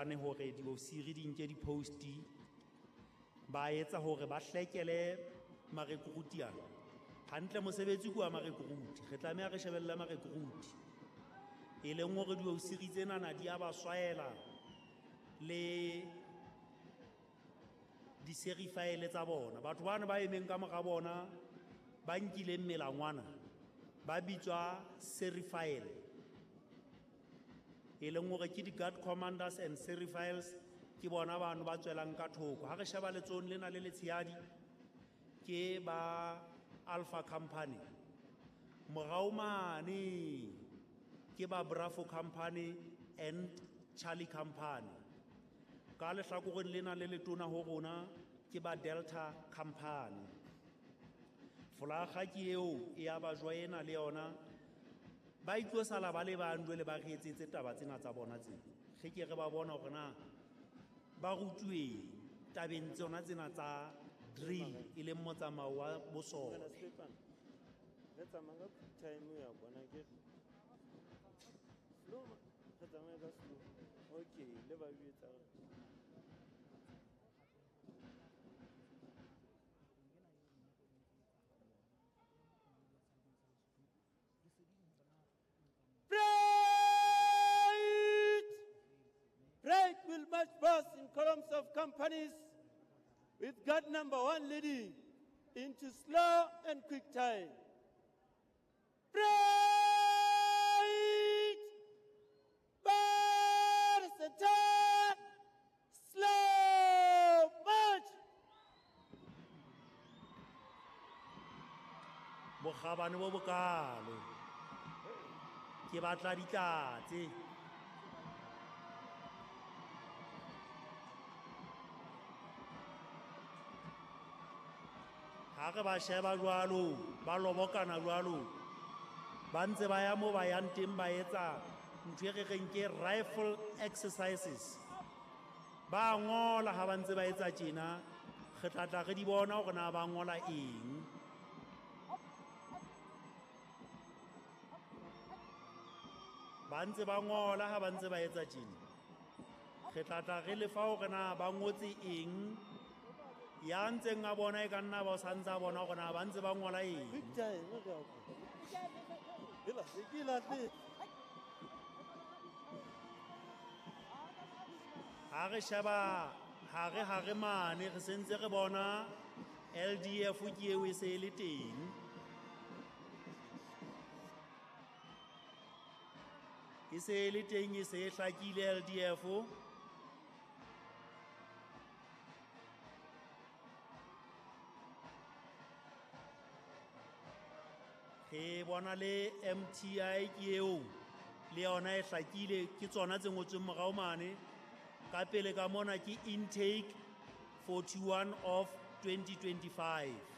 bokane hore diofisiri di nke di-post, ba etsa hore ba hlekele marekruti ana. Hantle mosebetsi ke wa marekruti, re tlameha re shebelle marekruti. E leng hore diofisiri tsenana di a ba swaela le diserifaele tsa bona. Batho bana ba emeng ka mora bona ba nkileng melangwana ba bitswa serifaele, e leng hore ke di-guard commanders and serifiles, ke bona bano ba tswelang ka thoko. Ha re sheba letsohong lena le letshehadi ke ba Alpha Company, morao mane ke ba Bravo Company and Charlie Company, ka lehlakoreng lena le letona ho rona ke ba Delta Company. Folakga ke eo e ya ba joina le yona, ba itlo sala ba le bang jwale ba re etsetse taba tsena tsa bona tsena. Re ke re ba bona hore na ba rutuweng tabeng tsona tsena tsa drill, e leng motsamao wa bosole. Re tsamaya ka quick time ya bona ke slow, re tsamaya ka slow. Okay, le ba jwetsa hore Break will march past in columns of companies with guard number 1 leading into slow and quick time. Break! Bar center! Slow march! Bokgabane bo bokalo. Ke batla ditlatse. Ha re ba sheba jwalo, ba lobokana jwalo, ba ntse ba ya mo ba yang teng ba etsa ntho e re reng ke rifle exercises. Ba ngola ha ba ntse ba etsa tjena, re tla tla re di bona hore na ba ngola eng. Ba ntse ba ngola ha ba ntse ba etsa tjena, re tla tla re lefa hore na ba ngotse eng. Ya ntseng a bona e ka nna ba o sa ntse a bona hore na ba ntse ba ngola eng. Quick time, re a kwa. Hela, ke lahle. Ha re sheba hare hare mane, re sentse re bona LDF ke eo e se e le teng. E se e le teng, e se e hlakile LDF. Re bona le MTI ke eo, le yona e hlakile, ke tsona tse ngotsweng morao mane. Ka pele ka mona ke intake 41 of 2025.